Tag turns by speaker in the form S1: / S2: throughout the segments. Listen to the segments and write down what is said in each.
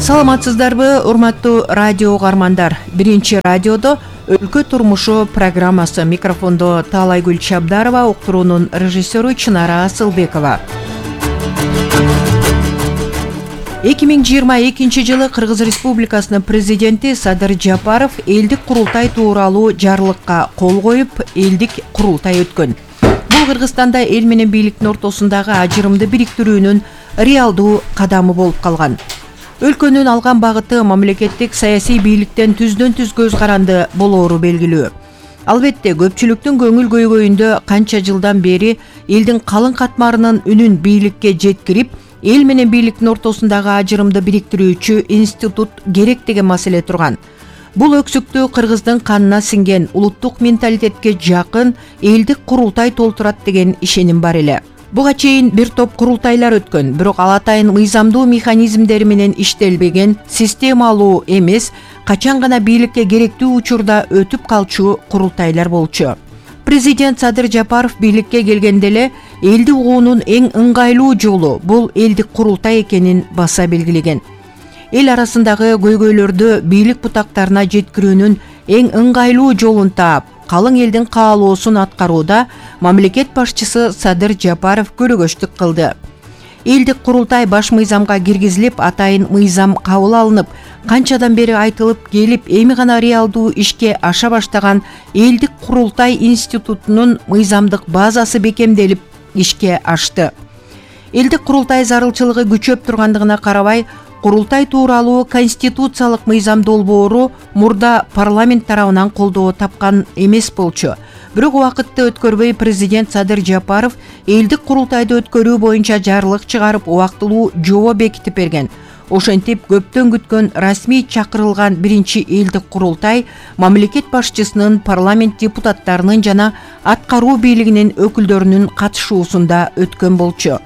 S1: Саламатсыздарбы, урматтуу радио угармандар. Биринчи радиодо өлкө турмушу программасы. Микрофондо Таалайгүл Чабдарова, уктуруунун режиссеру Чынара Асылбекова. 2022 жылы Кыргыз Республикасынын президенти Садыр Жапаров элдик курултай тууралуу жарлыкка кол коюп, элдик курултай өткөн. Бул Кыргызстанда эл менен бийликтин ортосундагы ажырымды бириктирүүнүн реалдуу кадамы болуп калган. Өлкөнүн алган багыты мамлекеттик саясий бийликтен түздөн-түз көз каранды болоору белгилүү. Албетте, көпчүлүктүн көңүл көйгөйүндө канча жылдан бери элдин калың катмарынын үнүн бийликке жеткирип, эл менен бийликтин ортосундагы ажырымды бириктирүүчү институт керек деген маселе турган. Бул өксүктү кыргыздын канына сиңген улуттук менталитетке жакын элдик курултай толтурат деген ишеним бар эле. Буга чейин бир топ курултайлар өткөн, бирок ал атайын мыйзамдуу механизмдери менен иштелбеген, системалуу эмес, качан гана бийликке керектүү учурда өтүп калчу курултайлар болчу. Президент Садыр Жапаров бийликке келгенде эле элди угуунун эң ыңгайлуу жолу бул элдик курултай экенин баса белгилеген. Эл арасындагы көйгөйлөрдү бийлик бутактарына жеткирүүнүн эң ыңгайлуу жолун таап, калың элдин каалоосун аткарууда мамлекет башчысы Садыр Жапаров көрөгөчтүк кылды. Элдик курултай баш мыйзамга киргизилип, атайын мыйзам кабыл алынып, канчадан бери айтылып келип, эми гана реалдуу ишке аша баштаган элдик курултай институтунун мыйзамдык базасы бекемделип, ишке ашты. Элдик курултай зарылчылыгы күчөп тургандыгына карабай, курултай тууралуу конституциялык мыйзам долбоору мурда парламент тарабынан колдоо тапкан эмес болчу. Бирок убакытты өткөрбөй президент Садыр Жапаров элдик курултайды өткөрүү боюнча жарлык чыгарып, убактылуу жобо бекитип берген. Ошентип, көптөн күткөн расмий чакырылган биринчи элдик курултай мамлекет башчысынын, парламент депутаттарынын жана аткаруу бийлигинин өкүлдөрүнүн катышуусунда өткөн болчу.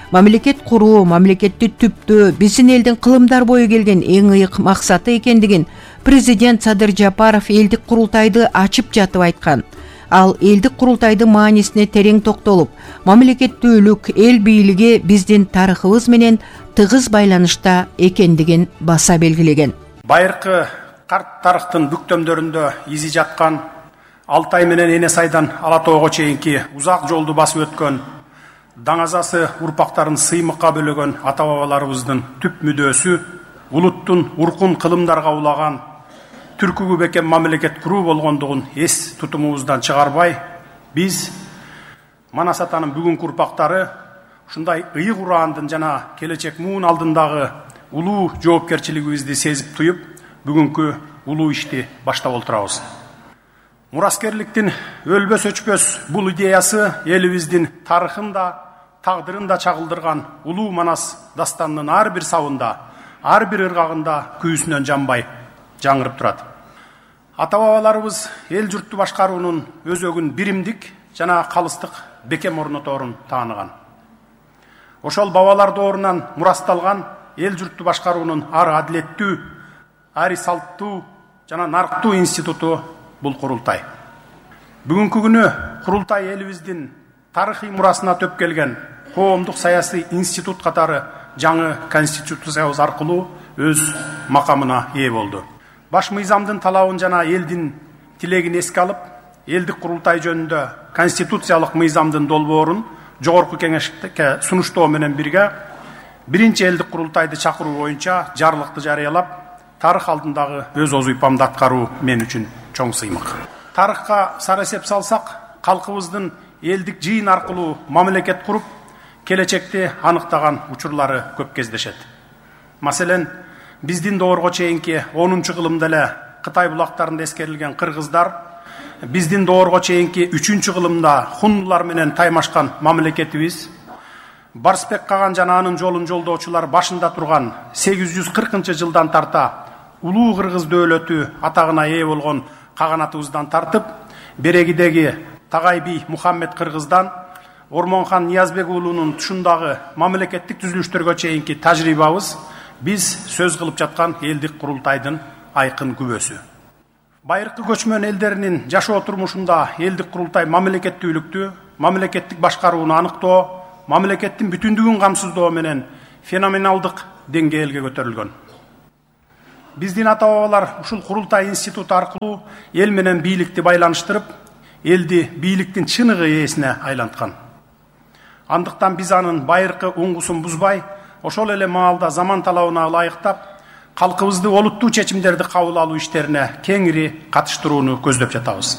S1: Мамлекет куруу, мамлекетти түптөө биздин элдин кылымдар бою келген эң ыйык максаты экендигин президент Садыр Жапаров элдик курултайды ачып жатып айткан. Ал элдик курултайдын маанисине терең токтолуп, мамлекеттүүлүк, эл бийлиги биздин тарыхыбыз менен тыгыз байланышта экендигин баса белгилеген.
S2: Байыркы карт тарыхтын бүктөмдөрүндө изи жаткан, Алтай менен Эне Сайдан Ала Тоого чейинки узак жолду басып өткөн, даңазасы урпактарын сыймыкка бөлөгөн ата-бабаларыбыздын түп мүдөөсү улуттун уркун кылымдарга улаган түркүгү бекем мамлекет куруу болгондугун эс тутумубуздан чыгарбай, биз Манас атанын бүгүнкү урпактары ушундай ыйык ураандын жана келечек муун алдындагы улуу жоопкерчилигибизди сезип туюп, бүгүнкү улуу ишти баштап олтурабыз. Мураскерликтин өлбөс өчпөс бул идеясы элибиздин тарыхын да, тагдырын да чагылдырган улуу Манас дастанынын ар бир сабында, ар бир ыргагында күйүүсүнөн жанбай жаңырып турат. Ата-бабаларыбыз эл журтту башкаруунун өзөгүн биримдик жана калыстык бекем орноторун тааныган. Ошол бабалар доорунан мурасталган эл журтту башкаруунун ар адилеттүү, ар салттуу жана нарктуу институту бул курултай. Бүгүнкү күнү курултай элибиздин тарыхый мурасына төп келген коомдук саясий институт катары жаңы конституциябыз аркылуу өз макамына ээ болду. Баш мыйзамдын талабын жана элдин тилегин эске алып, элдик курултай жөнүндө конституциялык мыйзамдын долбоорун жогорку кеңешке сунуштоо менен бирге биринчи элдик курултайды чакыруу боюнча жарлыкты жарыялап, тарых алдындагы өз озуйпамды аткаруу мен үчүн чоң сыймык. Тарыхка сар эсеп салсак, калкыбыздын элдик жыйын аркылуу мамлекет куруп, келечекти аныктаган учурлары көп кездешет. Маселен, биздин доорго чейинки 10-кылымда эле Кытай булактарында эскерилген кыргыздар, биздин доорго чейинки 3-кылымда хуннулар менен таймашкан мамлекетибиз, Барсбек Каган жана анын жолун жолдоочулар башында турган 840-жылдан тарта улуу кыргыз дөөлөтү атагына ээ болгон каганатыбыздан тартып, берегидеги Тагай би Мухаммед Кыргыздан Ормонхан Ниязбек уулунун тушундагы мамлекеттик түзүлүштөргө чейинки тажрыйбабыз биз сөз кылып жаткан элдик курултайдын айкын күбөсү. Байыркы көчмөн элдеринин жашоо турмушунда элдик курултай мамлекеттүүлүктү, мамлекеттик башкарууну аныктоо, мамлекеттин бүтүндүгүн камсыздоо менен феноменалдык деңгээлге көтөрүлгөн. биздин ата бабалар ушул курултай институту аркылуу эл менен бийликти байланыштырып, элди бийликтин чыныгы ээсине айланткан. Андыктан биз анын байыркы уңгусун бузбай, ошол эле маалда заман талабына ылайыктап, калкыбызды олуттуу чечимдерди кабыл алуу иштерине кеңири катыштырууну көздөп жатабыз.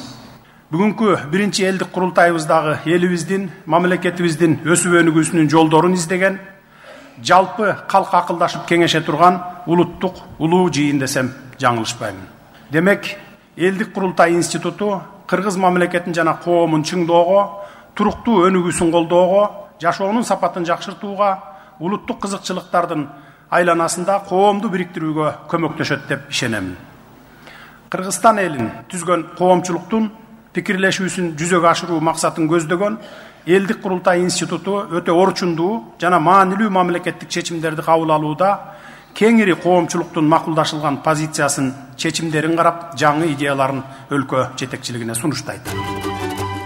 S2: Бүгүнкү биринчи элдик курултайыбыздагы элибиздин, мамлекетибиздин өсүп өнүгүүсүнүн жолдорун издеген, жалпы калк акылдашып кеңеше турган улуттук улуу жыйын десем жаңылышпаймын. Демек, элдик курултай институту кыргыз мамлекетин жана коомун чыңдоого, туруктуу өнүгүүсүн колдоого, жашоонун сапатын жакшыртууга, улуттук кызыкчылыктардын айланасында коомду бириктирүүгө көмөктөшөт деп ишенемин. Кыргызстан элин түзгөн коомчулуктун пикирлешүүсүн жүзөгө ашыруу максатын көздөгөн элдик курултай институту өтө орчундуу жана маанилүү мамлекеттик чечимдерди кабыл алууда кеңири коомчулуктун макулдашылган позициясын, чечимдерин карап, жаңы идеяларын өлкө жетекчилигине сунуштайт.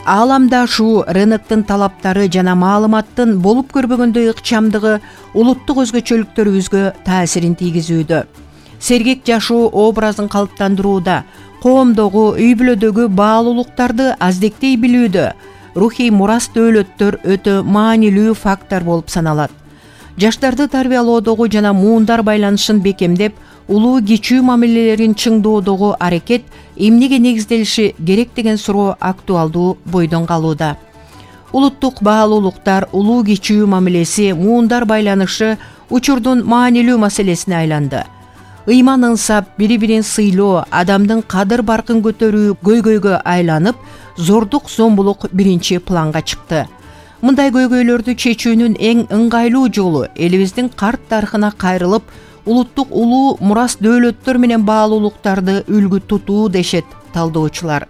S1: Ааламда ушул рыноктун талаптары жана маалыматтын болуп көрбөгөндөй ыкчамдыгы улуттук өзгөчөлүктөрүбүзгө таасирин тийгизүүдө. Сергек жашоо образын калыптандырууда, коомдогу, үй-бүлөдөгү баалуулуктарды аздектей билүүдө рухий мурас дөөлөттөр өтө маанилүү фактор болуп саналат. Жаштарды тарбиялоодогу жана муундар байланышын бекемдеп, улуу кичүү мамилелерин чыңдоодогу аракет эмнеге негизделиши керек деген суроо актуалдуу бойдон калууда. Улуттук баалуулуктар, улуу кичүү мамилеси, муундар байланышы учурдун маанилүү маселесине айланды. Ыйман ынсап, бири-бирин сыйлоо, адамдын кадыр-баркын көтөрүү көйгөйгө айланып, зордук зомбулук биринчи планга чыкты. Мындай көйгөйлөрдү чечүүнүн эң ыңгайлуу жолу элибиздин карт тарыхына кайрылып, улуттук улуу мурас дөөлөттөр менен баалуулуктарды үлгү тутуу дешет талдоочулар.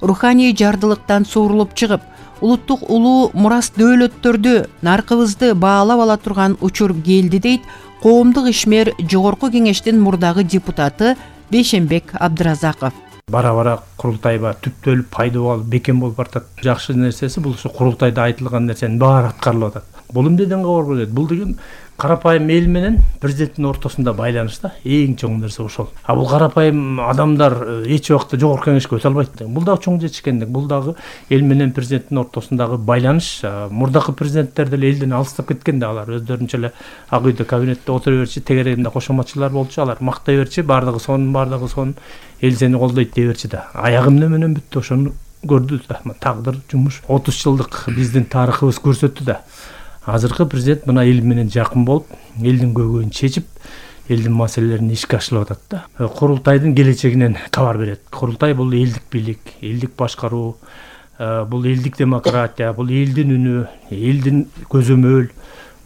S1: Руханий жардылыктан суурулуп чыгып, улуттук улуу мурас дөөлөттөрдү, наркыбызды баалап ала турган учур келди дейт коомдук ишмер Жогорку Кеңештин мурдагы депутаты Бейшенбек Абдыразаков.
S3: Бара-бара курултайга түптөлүп, пайда болуп, бекем болуп бартат. Жакшы нерсеси бул ушу курултайда айтылган нерсенин баары аткарылып атат. Бул эмнеден кабар берет? Бул деген карапайым эл менен президенттин ортосунда байланыш да. Эң чоң нерсе ошол. А бул карапайым адамдар эч убакта Жогорку Кеңешке өтө албайт. Бул дагы чоң жетишкендик. Бул дагы эл менен президенттин ортосундагы байланыш. Мурдакы президенттер деле элден алыстап кеткен да, алар өздөрүнчө эле ак үйдө кабинетте отура берчи, тегерегинде кошоматчылар болчу, алар мактай берчи, бардыгы сонун, эл сени колдойт дей берчи да. Аягы менен бүттү, ошону көрдү да. Тагдыр, жумуш 30 жылдык биздин тарыхыбыз көрсөттү да. Азыркы президент мына эл менен жакын болуп, элдин көйгөйүн чечип, элдин маселелерин ишке ашырып атат да. Курултайдын келечегинен кабар берет. Курултай бул элдик бийлик, элдик башкаруу, бул элдик демократия, бул элдин үнү, элдин көзөмөл.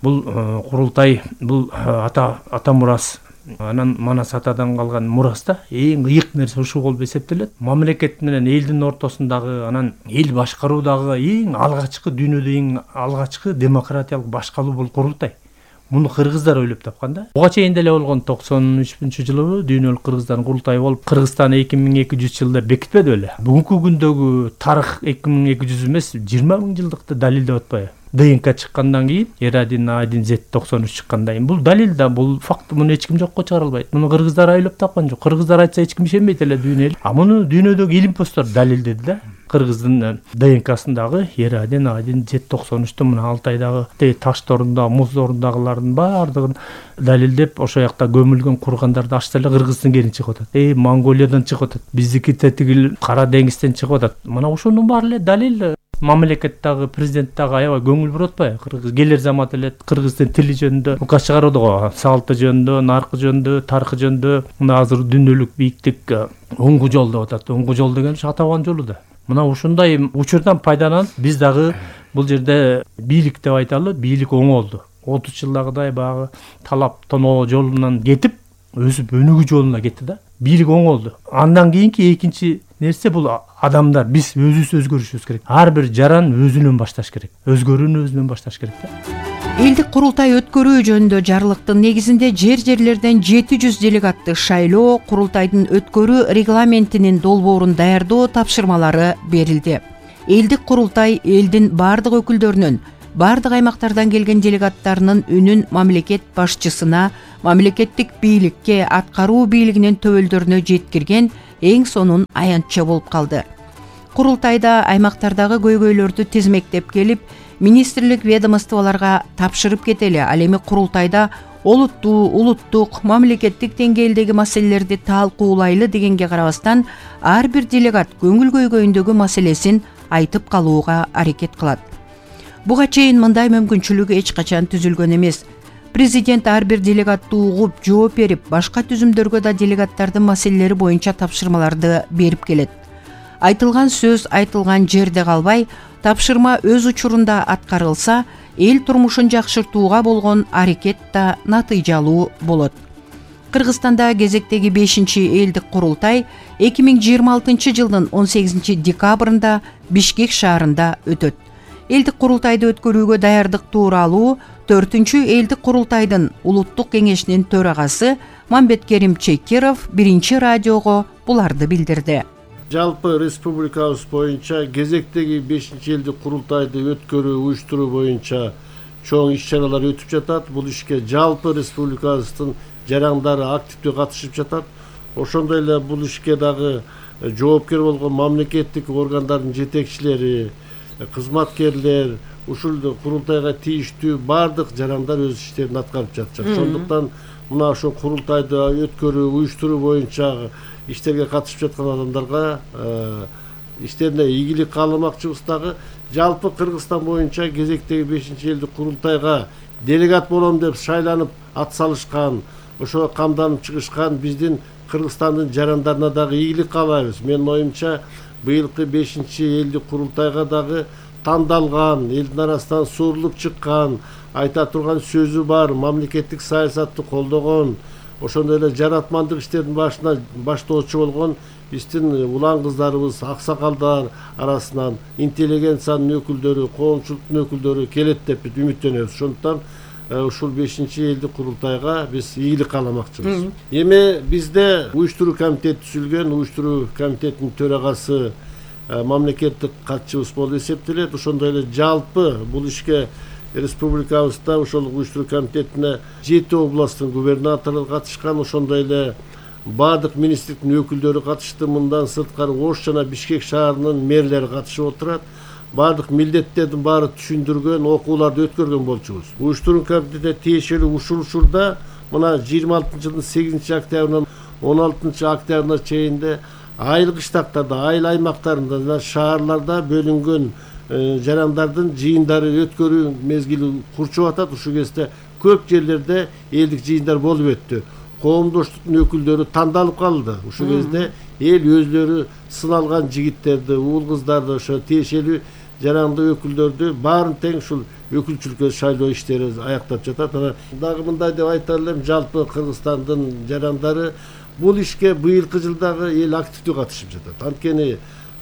S3: Бул курултай, бул ата мурас, анан Манас атадан калган мурас да. Эң ыйык нерсе ушул болуп эсептелет. Мамлекет менен элдин ортосундагы, анан эл башкаруудагы эң алгачкы, дүйнөдө эң алгачкы демократиялык башкалуу бул курултай. Муну кыргыздар ойлоп тапкан да. Буга чейин деле болгон 93-жылы дүйнөлүк кыргыздардын курултайы болуп, Кыргызстан 2200 жылда бекитпеди беле. Бүгүнкү күндөгү тарых 2200 эмес, 20 000 жылдыкты далилдеп атпайбы? ДНК чыккандан кийин, R1, A1, Z93 чыккандан кийин бул далил да, бул факт, муну эч ким жокко чыгара албайт. Муну кыргыздар ойлоп тапкан жок. Кыргыздар айтса эч ким ишенбейт эле дүйнө эл. А муну дүйнөдөгү илимпоздор далилдеди да. Кыргыздын ДНКсындагы R1, A1, Z93 мына Алтайдагы ташторунда, муздорундагылардын баардыгын далилдеп, ошол жакта көмүлгөн кургандарды ачса эле Кыргыздын кери чыгып атат. Монголиядан чыгып атат. Биздики тетигил Кара деңизден чыгып атат. Мына ошонун баары эле далил. Мамлекет дагы, президент дагы аябай көңүл буруп атпайбы? Кыргыз келер замат эле кыргыздын тили жөнүндө указ чыгарды го, салты жөнүндө, наркы жөнүндө, тарыхы жөнүндө. Мына азыр дүйнөлүк бийиктик оңгу жол деп атат. Оңгу жол деген ата бабанын жолу да. Мына ушундай учурдан пайдаланып, биз дагы бул жерде бийлик деп айталы, бийлик оңолду. 30 жылдагыдай багы талап тоноо жолунан кетип, өсүп өнүгүү жолуна кетти да. Бийлик оңолду. Андан кийинки экинчи нерсе бул адамдар, биз өзүбүз өзгөрүшүбүз керек. Ар бир жаран өзүнөн башташ керек. Өзгөрүүнү өзүнөн башташ керек да.
S1: Элдик курултай өткөрүү жөнүндө жарлыктын негизинде жерлерден 700 делегатты шайлоо, курултайдын өткөрүү регламентинин долбоорун даярдоо тапшырмалары берилди. Элдик курултай элдин бардык өкүлдөрүнүн бардык аймактардан келген делегаттарынын үнүн мамлекет башчысына, мамлекеттик бийликке, аткаруу бийлигинин төбөлдөрүнө жеткирген эң сонун аянтча болуп калды. Курултайда аймактардагы көйгөйлөрдү тизмектеп келип, министрлик ведомстволорго тапшырып кетели. Ал эми курултайда улуттук, мамлекеттик деңгээлдеги маселелерди талкуулайлы дегенге карабастан, ар бир делегат көңүл көйгөйүндөгү маселесин айтып калууга аракет кылат. Буга чейин мындай мүмкүнчүлүк эч качан түзүлгөн эмес. Президент ар бир делегатты угуп, жооп берип, башка түзүмдөргө да делегаттардын маселелери боюнча тапшырмаларды берип келет. Айтылган сөз айтылган жерде калбай, тапшырма өз учурунда аткарылса, эл турмушун жакшыртууга болгон аракет да натыйжалуу болот. Кыргызстанда кезектеги 5-элдик курултай 2026 жылдын 18 декабрында Бишкек шаарында өтөт. Элдик курултайды өткөрүүгө даярдык тууралуу 4-элдик курултайдын улуттук кеңешинин төрагасы Мамбеткерим Чекиров 1 радиого буларды билдирди.
S4: Жалпы республикабыз боюнча кезектеги 5-элдик курултайды өткөрүү, уюштуруу боюнча чоң иш-чаралар өтүп жатат. Бул ишке жалпы республикабыздын жарандары активдүү катышып жатат. Ошондой эле бул ишке дагы жоопкер болгон мамлекеттик органдардын жетекчилери, кызматкерлер, ушул курултайга тийиштүү бардык жарандар өз иштерин аткарып жатышат. Ошондуктан мына ошо курултайды өткөрүү, уюштуруу боюнча иштерге катышып жаткан адамдарга иштерине ийгилик кааламакчыбыз. Дагы жалпы Кыргызстан боюнча кезектеги 5-элдик курултайга делегат болом деп шайланып ат салышкан, ошого камданып чыгышкан биздин Кыргызстандын жарандарына дагы ийгилик каалайбыз. Менин оюмча быйылкы 5-элдик курултайга дагы тандалган, элдин арасынан суурулуп чыккан, айта турган сөзү бар, мамлекеттик саясатты колдогон, ошондой эле жаратмандык иштердин башына баштоочу болгон биздин улан кыздарыбыз, аксакалдар арасынан интеллигенциянын өкүлдөрү, коомчулуктун өкүлдөрү келет деп үмүттөнөбүз. Ошондуктан ушул 5-элдик курултайга биз ийгилик кааламакчыбыз. Эми бизде уюштуруу комитети түзүлгөн, уюштуруу комитетинин төрагасы мамлекеттик катчыбыз болуп эсептелет. Ошондой эле жалпы бул ишке республикабызда ошол уюштуруу комитетине 7 областтын губернаторлору катышкан. Ошондой эле бардык министрликтин өкүлдөрү катышты. Мындан сырткары Ош жана Бишкек шаарынын мэрлери катышып отурат. Бардык милдеттердин баары түшүндүргөн, окууларды өткөргөн болчубуз. Уюштуруу комитетине тиешелүү ушул учурда мына 26 жылдын 8 октябрынан 16 октябрына чейинде айыл кыштактарда, айыл аймактарында жана шаарларда бөлүнгөн жарандардын жыйындары өткөрүү мезгили курчуп атат. Ушул кезде көп жерлерде элдик жыйындар болуп өттү. Коомдоштуктун өкүлдөрү тандалып калды. Ушул кезде эл өзлөрү сыналган жигиттерди, уул кыздарды, ошо тиешелүү жаранды өкүлдөрдү баарын тең ушул өкүлчүлүккө шайлоо иштери аяктап жатат. Анан дагы мындай деп айта элем, жалпы Кыргызстандын жарандары бул ишке быйылкы жылдагы эл активдүү катышып жатат. Анткени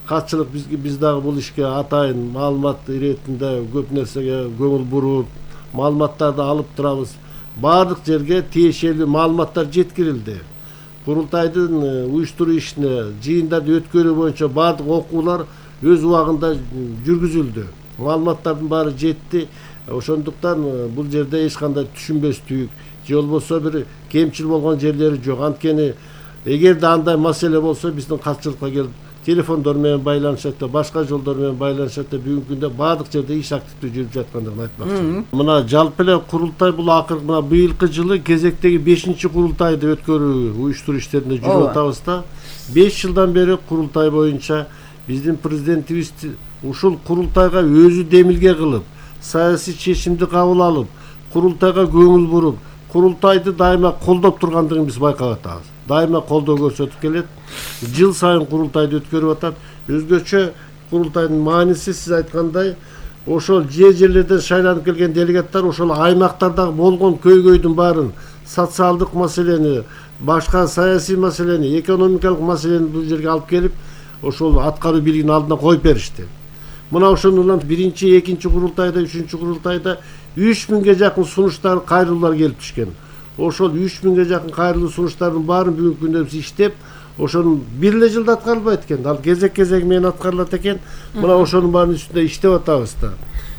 S4: катчылык биз дагы бул ишке атайын маалымат иретинде көп нерсеге көңүл буруп, маалыматтарды алып турабыз. Бардык жерге тиешелүү маалыматтар жеткирилди. Курултайдын уюштуруу ишине, жыйындарды өткөрүү боюнча бардык окуулар өз убагында жүргүзүлдү. Маалыматтардын баары жетти. Ошондуктан бул жерде эч кандай түшүнбөстүк же болбосо бир кемчил болгон жерлери жок. Анткени эгерде андай маселе болсо биздин катчылыкка келип телефондор менен байланышат, башка жолдор менен байланышат. Бүгүнкү күндө бардык жерде иш активдүү жүрүп жаткандыгын айтмакчымын. Мына жалпы эле курултай бул акыркы мына быйылкы жылы кезектеги 5-курултайды өткөрүү, уюштуруу иштеринде жүрүп атабыз да. 5 жылдан бери курултай боюнча биздин президентибиз ушул курултайга өзү демилге кылып, саясий чечимди кабыл алып, курултайга көңүл буруп, курултайды дайыма колдоп тургандыгын биз байкап атабыз. Дайыма колдоо көрсөтүп келет. Жыл сайын курултайды өткөрүп атат. Өзгөчө курултайдын мааниси сиз айткандай, ошол жерлерден шайланып келген делегаттар ошол аймактардагы болгон көйгөйдүн баарын, социалдык маселени, башка саясий маселени, экономикалык маселени бул жерге алып келип, ошол аткаруу бийлигинин алдына коюп беришти. Мына ошондон 1-2 курултайда, 3-курултайда 3000ге жакын сунуштар, кайрылуулар келип түшкөн. Ошол 3000ге жакын кайрылуу сунуштардын баарын бүгүнкү күндө биз иштеп, ошонун бир эле жылда аткарылбайт экен. Ал кезек менен аткарылат экен. Мына ошонун баарын үстүндө иштеп атабыз да.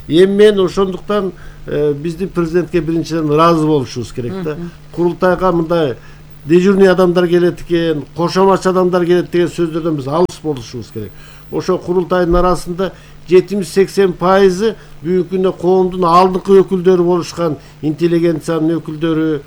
S4: Эми мен ошондуктан биздин президентке биринчиден ыраазы болушубуз керек да. Курултайга мындай дежурный адамдар келет экен, кошоматчы адамдар келет деген сөздөрдөн биз алыс болушубуз керек. Ошо курултайдын арасында 70-80% бүгүнкү күндө коомдун алдыңкы өкүлдөрү болушкан, интеллигенциянын өкүлдөрү,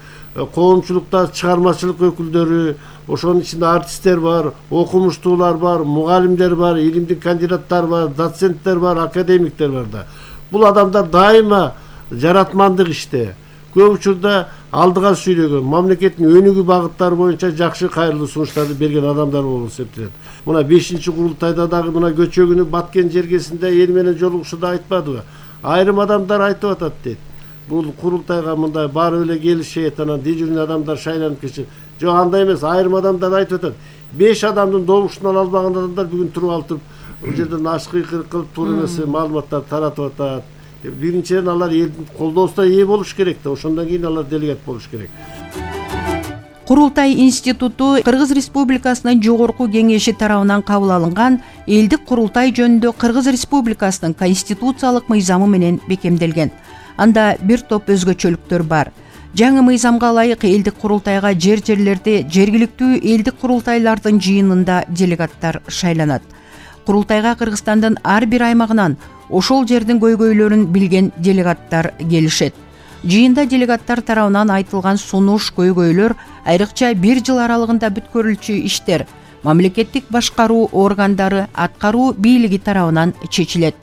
S4: коомчулукта чыгармачылык өкүлдөрү, ошонун ичинде артисттер бар, окумуштуулар бар, мугалимдер бар, илимдик кандидаттар бар, доценттер бар, академиктер бар да. Бул адамдар дайыма жаратмандык иште, көп учурда алдыга сүйлөгөн, мамлекеттин өнүгүү багыттары боюнча жакшы кайрылуу сунуштарды берген адамдар болуп эсептелет. Мына 5-курултайда дагы мына көчөгүнү Баткен жергесинде эл менен жолугушууда айтпадыбы? Айрым адамдар айтып атат дейт. Бул курултайга мындай барып эле келишет, анан дежурный адамдар шайланып кетишет. Жок, андай эмес, айрым адамдар айтып атат. 5 адамдын добушун ала албаган адамдар бүгүн туруп алып бул жерден ашкыйкырык кылып туура эмес маалыматтар таратып атат. Биринчиден алар элдин колдоосуна ээ болуш керек да, ошондон кийин алар делегат болуш керек.
S1: Курултай институту Кыргыз Республикасынын жогорку кеңеши тарабынан кабыл алынган элдик курултай жөнүндө Кыргыз Республикасынын конституциялык мыйзамы менен бекемделген. Анда бир топ өзгөчөлүктөр бар. Жаңы мыйзамга ылайык элдик курултайга жерлерде жергиликтүү элдик курултайлардын жыйынында делегаттар шайланат. Курултайга Кыргызстандын ар бир аймагынан ошол жердин көйгөйлөрүн билген делегаттар келишет. Жыйында делегаттар тарабынан айтылган сунуш, көйгөйлөр, айрыкча 1 жыл аралыгында бүткөрүлчү иштер мамлекеттик башкаруу органдары, аткаруу бийлиги тарабынан чечилет.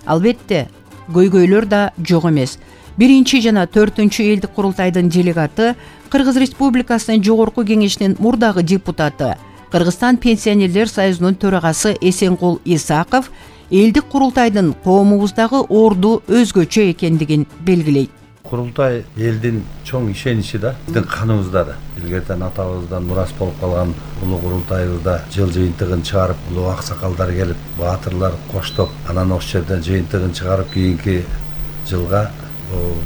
S1: Албетте, көйгөйлөр да жок эмес. 1 жана 4 элдик курултайдын делегаты Кыргыз Республикасынын жогорку кеңешинин мурдагы депутаты, Кыргызстан пенсионерлер союзунун төрагасы Эсенкул Исаков элдик курултайдын коомубуздагы орду өзгөчө экендигин белгилейт.
S5: Курултай элдин чоң ишеничи да, биздин каныбызда да. Илгертен атабыздан мурас болуп калган улуу курултайыбызда жыл жыйынтыгын чыгарып, улуу аксакалдар келип, баатырлар коштоп, анан ошол жерден жыйынтыгын чыгарып, кийинки жылга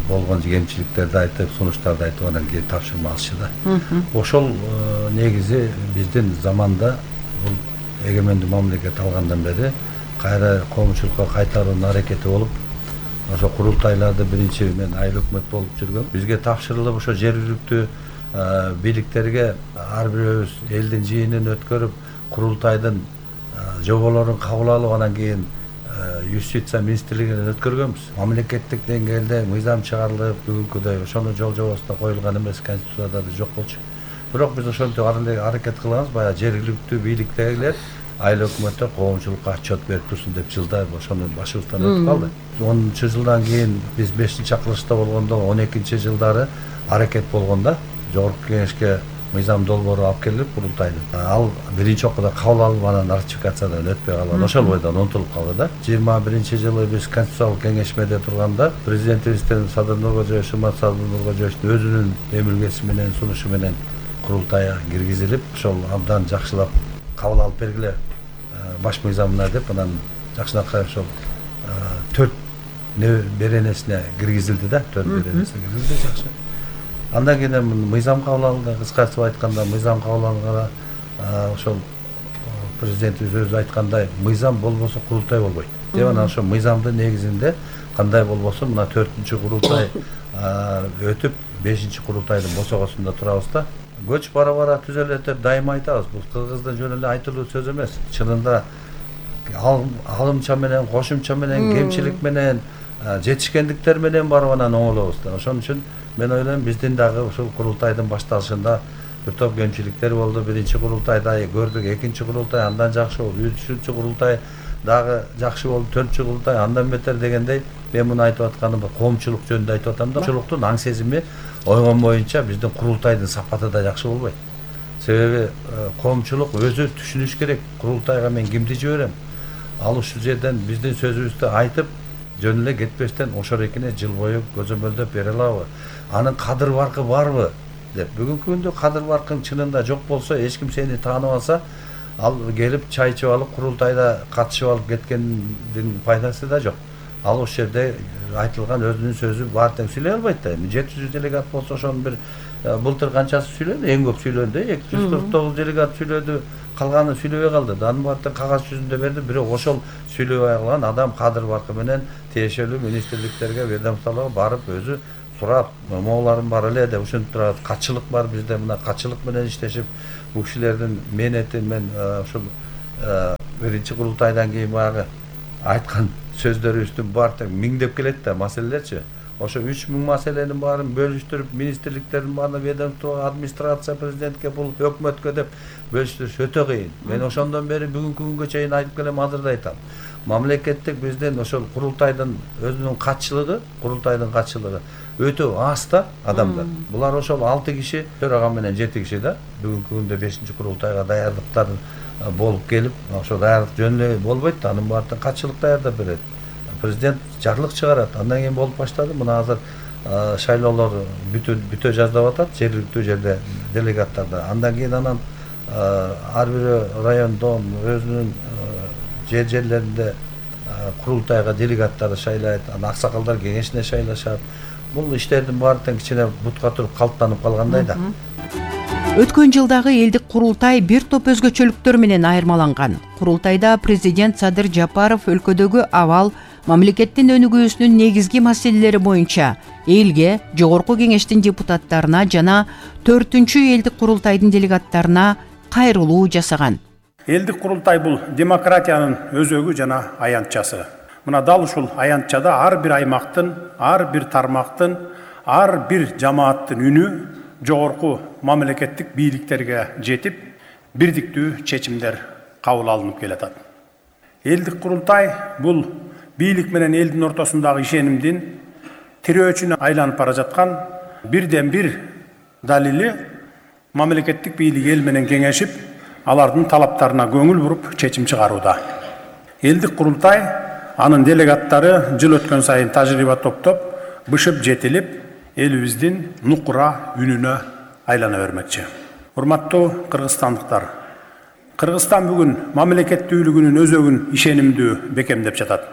S5: болгон кемчиликтерди айтып, сунуштарды айтып, анан кийин тапшырма алышы да. Ошол негизи биздин заманда бул эгемендүү мамлекет алгандан бери кайра коомчулукка кайтаруунун аракети болуп, ошо курултайларды биринчи мен айыл өкмөт болуп жүргөм. Бизге тапшырылып, ошо жергиликтүү бийликтерге ар бирөөбүз элдин жыйынын өткөрүп, курултайдын жоболорун кабыл алып, анан кийин юстиция министрлигинен өткөргөнбүз. Мамлекеттик деңгээлде мыйзам чыгарылып, бүгүнкүдөй ошону жол жобосуна коюлган эмес, конституцияда да жок болчу. Бирок биз ошентип аракет кылганбыз, баягы жергиликтүү бийликтегилер айыл өкмөттөр коомчулукка отчет берип турсун деп жылдар ошону башыбыздан өтүп калды. 10-жылдан кийин биз 5-чакырылышта болгондо 12-жылдары аракет болгондо жогорку кеңешке мыйзам долбоору алып келип курултайдын. Ал биринчи окууда кабыл алып, анан ратификациядан өтпөй калган. Ошол бойдон унутулуп калды да. 21-жылы биз конституциялык кеңешмеде турганда президентибизден Садыр Нуркожоевич, Жомарт Садыр Нуркожоевичтин өзүнүн эмилгеси менен, сунушу менен курултайга киргизилип, ошол абдан жакшылап кабыл алып бергиле баш мыйзамына деп, анан жакшынакай ошол 4 беренесине киргизилди да, 4 беренесине киргизилди жакшы. Андан кийин мыйзам кабыл алынды, кыскартып айтканда мыйзам кабыл алынганда ошол президентибиз өзү айткандай, мыйзам болбосо курултай болбойт деп, анан ошол мыйзамдын негизинде кандай болбосо мына 4-курултай өтүп 5-курултайдын босогосунда турабыз да. Көч бара-бара түзөлөт деп дайыма айтабыз. Бул кыргыздын жөн эле айтылуу сөз эмес. Чынында алымча менен, кошумча менен, кемчилик менен, жетишкендиктер менен барып анан оңолобуз да. Ошон үчүн мен ойлойм, биздин дагы ушул курултайдын башталышында бир топ кемчиликтер болду. 1-курултайда көрдүк, 2-курултай андан жакшы болду, 3-курултай дагы жакшы болду, 4-курултай андан бетер дегендей. Мен муну айтып атканым коомчулук жөнүндө айтып атам да. Коомчулуктун аң сезими ойгон боюнча биздин курултайдын сапаты да жакшы болбойт. Себеби коомчулук өзү түшүнүш керек, курултайга мен кимди жиберем. Ал ушул жерден биздин сөзүбүздү айтып, жөн эле кетпестен ошол экине жыл бою көзөмөлдөп бере алабы? Анын кадыр баркы барбы деп. Бүгүнкү күндө кадыр баркың чынында жок болсо, эч ким сени тааныбаса, ал келип чай ичип алып, курултайда катышып алып кеткендин пайдасы да жок. Ал ошол жерде айтылган өзүнүн сөзү бар тең сүйлөй албайт да. 700 делегат болсо, ошонун бир былтыр канчасы сүйлөдү, эң көп сүйлөндү, 249 делегат сүйлөдү, калганы сүйлөбөй калды. Анын баардыгын кагаз жүзүндө берди, бирок ошол сүйлөбөй калган адам кадыр баркы менен тиешелүү министрликтерге, ведомстволорго барып өзү сурап, могуларым бар эле деп ушинтип турат. Катчылык бар бизде, мына катчылык менен иштешип, бул кишилердин мээнети мен ушул биринчи курултайдан кийин баягы айткан сөздөрүбүздүн баары миңдеп келет да маселелерчи. Ошо 3000 маселенин баарын бөлүштүрүп, министрликтердин баарына, ведомство, администрация, президентке, бул өкмөткө деп бөлүштүрүш өтө кыйын. Мен ошондон бери бүгүнкү күнгө чейин айтып келем, азыр да айтам. Мамлекеттик биздин ошол курултайдын өзүнүн катчылыгы, өтө аз да адамдар. Булар ошол 6 киши, төрага менен 7 киши да. Бүгүнкү күндө 5-чи курултайга даярдыктар болуп келип, ошо даярдык жөнүнө болбойт да, анын баардыгын катчылык даярдап берет. Президент жарлык чыгарат, андан кийин болуп баштады. Мына азыр шайлоолор бүтө жаздап атат, жергиликтүү жерде делегаттарда. Андан кийин ар бир райондон өзүнүн жерлеринде курултайга делегаттарды шайлайт, аксакалдар кеңешине шайлашат. Бул иштердин баардыгын кичине бутка туруп калыптанып калгандай да.
S1: Өткөн жылдагы элдик курултай бир топ өзгөчөлүктөр менен айырмаланган. Курултайда президент Садыр Жапаров өлкөдөгү абал, мамлекеттин өнүгүүсүнүн негизги маселелери боюнча элге, жогорку кеңештин депутаттарына жана 4-чү элдик курултайдын делегаттарына кайрылуу жасаган.
S2: Элдик курултай бул демократиянын өзөгү жана аянтчасы. Мына дал ушул аянтчада ар бир аймактын, ар бир тармактын, ар бир жамааттын үнү жогорку мамлекеттик бийликтерге жетип, бирдиктүү чечимдер кабыл алынып келатат. Элдик курултай бул бийлик менен элдин ортосундагы ишенимдин тирөөчүнө айланып бара жаткан бирден бир далили. Мамлекеттик бийлик эл менен кеңешип, алардын талаптарына көңүл буруп чечим чыгарууда. Элдик курултай анын делегаттары жыл өткөн сайын тажрыйба топтоп, бышып жетилип, элибиздин нукура үнүнө айлана бермекчи. Урматтуу кыргызстандыктар, Кыргызстан бүгүн мамлекеттүүлүгүнүн өзөгүн ишенимдүү бекемдеп жатат.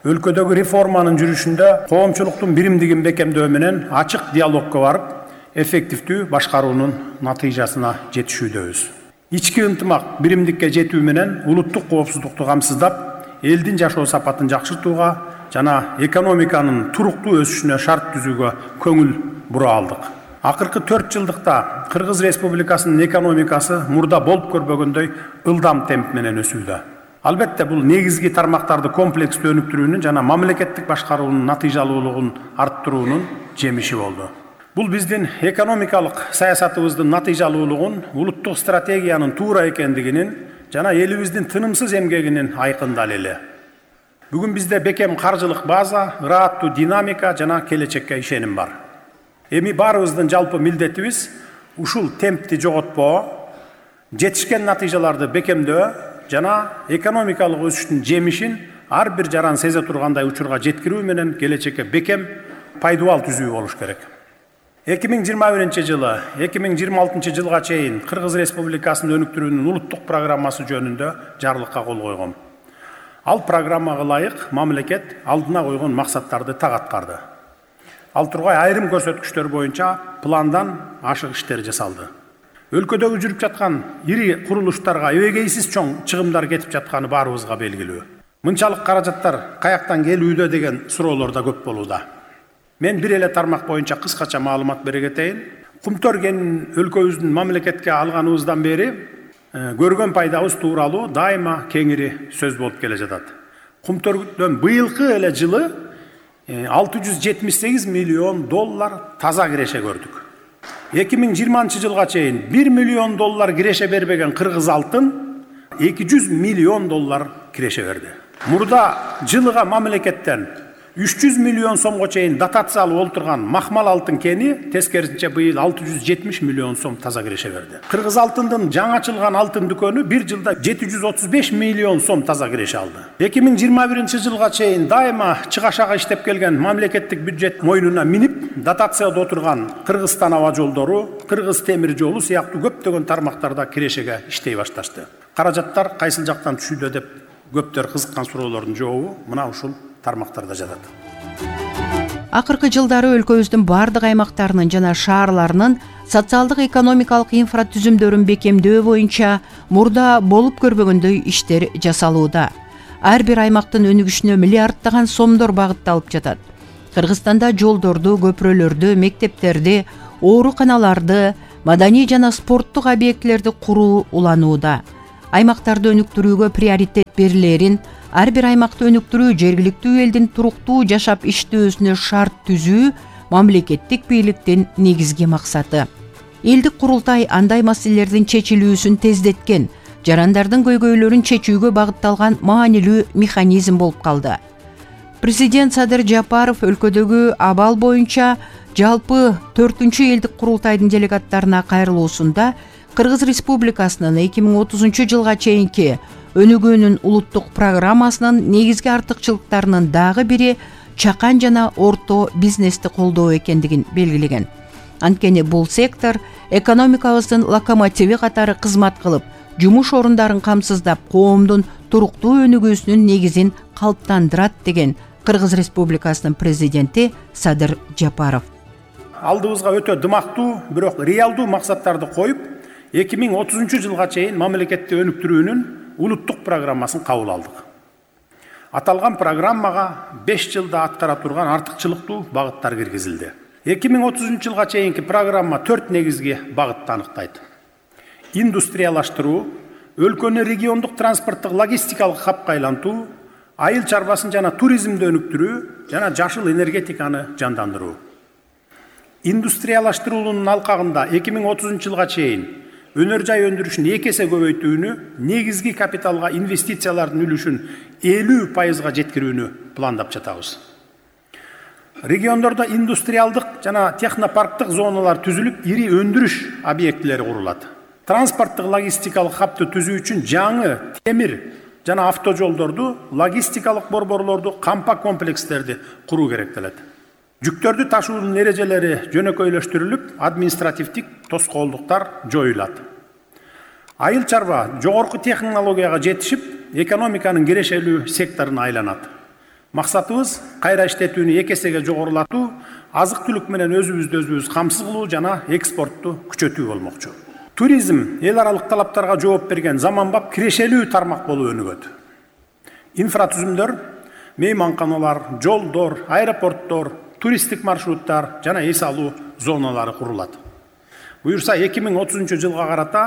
S2: Өлкөдөгү реформанын жүрүшүндө коомчулуктун биримдигин бекемдөө менен ачык диалогго барып, эффективдүү башкаруунун натыйжасына жетишүүдөбүз. Ички ынтымак биримдикке жетүү менен улуттук коопсуздукту камсыздап, элдин жашоо сапатын жакшыртууга жана экономиканын туруктуу өсүшүнө шарт түзүүгө көңүл бура алдык. Акыркы 4 жылдыкта Кыргыз Республикасынын экономикасы мурда болуп көрбөгөндөй ылдам темп менен өсүүдө. Албетте бул негизги тармактарды комплекстүү өнүктүрүүнүн жана мамлекеттик башкаруунун натыйжалуулугун арттыруунун жемиши болду. Бул биздин экономикалык саясатыбыздын натыйжалуулугун, улуттук стратегиянын туура экендигинин жана элибиздин тынымсыз эмгегинин айкын далили. Бүгүн бизде бекем каржылык база, ыраттуу динамика жана келечекке ишеним бар. Эми баарыбыздын жалпы милдетибиз ушул темпти жоготпоо, жетишкен натыйжаларды бекемдөө жана экономикалык өсүштүн жемишин ар бир жаран сезе тургандай учурга жеткирүү менен келечекке бекем пайдубал түзүү болуш керек. 2021 2026 жылга чейин Кыргыз Республикасынын өнүктүрүүнүн улуттук программасы жөнүндө жарлыкка кол койгом. Ал программага ылайык мамлекет алдына койгон максаттарды так аткарды. Ал тургай айрым көрсөткүчтөр боюнча пландан ашык иштер жасалды. Өлкөдөгү жүрүп жаткан ири курулуштарга эбегейсиз чоң чыгымдар кетип жатканы баарыбызга белгилүү. Мынчалык каражаттар каяктан келүүдө деген суроолор да көп болууда. Мен бир эле тармак боюнча кыскача маалымат бере кетейин. Кумтөр кенин өлкөбүздүн мамлекетке алганыбыздан бери көргөн пайдабыз тууралуу дайыма кеңири сөз болуп келе жатат. Кумтөрдөн быйылкы эле жылы $678 миллион таза киреше көрдүк. 2020 жылга чейин $1 миллион киреше бербеген кыргыз алтын $200 миллион киреше берди. Мурда жылыга мамлекеттен 300 миллион сомго чейин дотация алып олтурган махмал алтын кени тескерисинче быйыл 670 миллион сом таза киреше берди. Кыргыз алтындын жаңы ачылган алтын дүкөнү бир жылда 735 миллион сом таза киреше алды. 2021 жылга чейин дайыма чыгашага иштеп келген мамлекеттик бюджет мойнуна минип, дотацияда отурган Кыргызстан аба жолдору, Кыргыз темир жолу сыяктуу көптөгөн тармактарда кирешеге иштей башташты. Каражаттар кайсыл жактан түшүүдө деп көптөр кызыккан суроолордун жообу мына ушул тармактарда жатат.
S1: Акыркы жылдары өлкөбүздүн бардык аймактарынын жана шаарларынын социалдык экономикалык инфратүзүмдөрүн бекемдөө боюнча мурда болуп көрбөгөндөй иштер жасалууда. Ар бир аймактын өнүгүшүнө миллиарддаган сомдор багытталып жатат. Кыргызстанда жолдорду, көпүрөлөрдү, мектептерди, ооруканаларды, маданий жана спорттук объектилерди куруу уланууда. Аймактарды өнүктүрүүгө приоритет берилерин, ар бир аймакты өнүктүрүү жергиликтүү элдин туруктуу жашап иштөөсүнө шарт түзүү мамлекеттик бийликтин негизги максаты. Элдик курултай андай маселелердин чечилүүсүн тездеткен, жарандардын көйгөйлөрүн чечүүгө багытталган маанилүү механизм болуп калды. Президент Садыр Жапаров өлкөдөгү абал боюнча жалпы 4-чү элдик курултайдын делегаттарына кайрылуусунда Кыргыз Республикасынын 2030 жылга чейинки өнүгүүнүн улуттук программасынын негизги артыкчылыктарынын дагы бири чакан жана орто бизнести колдоо экендигин белгилеген. Анткени бул сектор экономикабыздын локомотиви катары кызмат кылып, жумуш орундарын камсыздап, коомдун туруктуу өнүгүүсүнүн негизин калыптандырат деген Кыргыз Республикасынын президенти Садыр Жапаров.
S2: Алдыбызга өтө дымактуу, бирок реалдуу максаттарды коюп, 2030 жылга чейин мамлекетти өнүктүрүүнүн улуттук программасын кабыл алдык. Аталган программага 5 жылда аткара турган артыкчылыктуу багыттар киргизилди. 2030 жылга чейинки программа 4 негизги багытты аныктайт. Индустриялаштыруу, өлкөнү региондук транспорттук логистикалык хабка айлантуу, айыл чарбасын жана туризмди өнүктүрүү жана жашыл энергетиканы жандандыруу. Индустриялаштыруунун алкагында 2030 жылга чейин өнөр жай өндүрүшүн 2 эсе көбөйтүүнү, негизги капиталга инвестициялардын үлүшүн 50% жеткирүүнү пландап жатабыз. Региондордо индустриалдык жана технопарктык зоналар түзүлүп, ири өндүрүш объектилери курулат. Транспорттук логистикалык хабты түзүү үчүн жаңы темир жана автожолдорду, логистикалык борборлорду, кампа комплекстерди куруу керектелет. Жүктөрдү ташуунун эрежелери жөнөкөйлөштүрүлүп, административдик тоскоолдуктар жоюлат. Айыл чарба жогорку технологияга жетишип, экономиканын кирешелүү секторуна айланат. Максатыбыз кайра иштетүүнү 2 эсеге жогорулатуу, азык-түлүк менен өзүбүздү камсыз кылуу жана экспортту күчөтүү болмокчу. Туризм эл аралык талаптарга жооп берген заманбап кирешелүү тармак болуп өнүгөт. Инфратүзүмдөр, мейманканалар, жолдор, аэропорттор, туристтик маршруттар жана эс алуу зоналары курулат. Буюрса 2030 жылга карата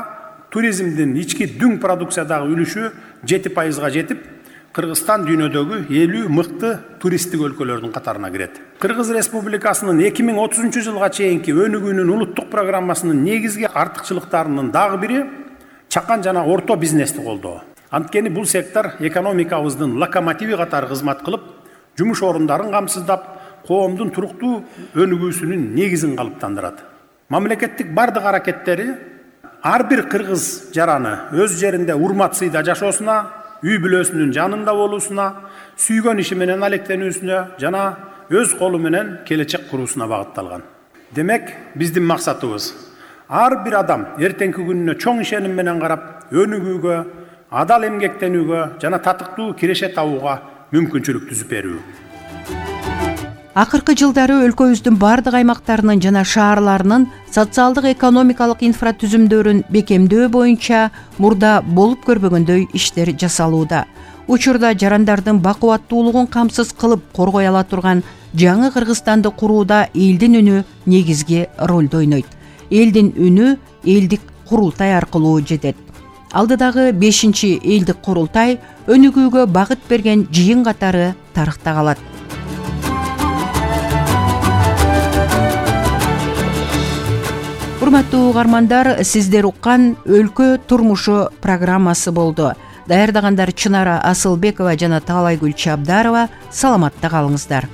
S2: туризмдин ички дүң продукциядагы үлүшү 7% жетип, Кыргызстан дүйнөдөгү 50 мыкты туристтик өлкөлөрдүн катарына кирет. Кыргыз Республикасынын 2030 жылга чейинки өнүгүүнүн улуттук программасынын негизги артыкчылыктарынын дагы бири чакан жана орто бизнести колдоо. Анткени бул сектор экономикабыздын локомотиви катары кызмат кылып, жумуш орундарын камсыздап, коомдун туруктуу өнүгүүсүнүн негизин калыптандырат. Мамлекеттик бардык аракеттери ар бир кыргыз жараны өз жеринде урмат сыйда жашоосуна, үй бүлөсүнүн жанында болуусуна, сүйгөн иши менен алектенүүсүнө жана өз колу менен келечек куруусуна багытталган. Демек, биздин максатыбыз ар бир адам эртеңки күнүнө чоң ишеним менен карап, өнүгүүгө, адал эмгектенүүгө жана татыктуу киреше табууга мүмкүнчүлүк түзүп берүү.
S1: Акыркы жылдары өлкөбүздүн бардык аймактарынын жана шаарларынын социалдык экономикалык инфратүзүмдөрүн бекемдөө боюнча мурда болуп көрбөгөндөй иштер жасалууда. Учурда жарандардын бакубаттуулугун камсыз кылып коргой ала турган жаңы Кыргызстанды курууда элдин үнү негизги ролду ойнойт. Элдин үнү элдик курултай аркылуу жетет. Алдыдагы 5-чи элдик курултай өнүгүүгө багыт берген жыйын катары тарыхта калат. Урматтуу угармандар, сиздер уккан Өлкө турмушу программасы болду. Даярдагандар Чынара Асылбекова жана Таалайгүл Чабдарова. Саламатта калыңыздар.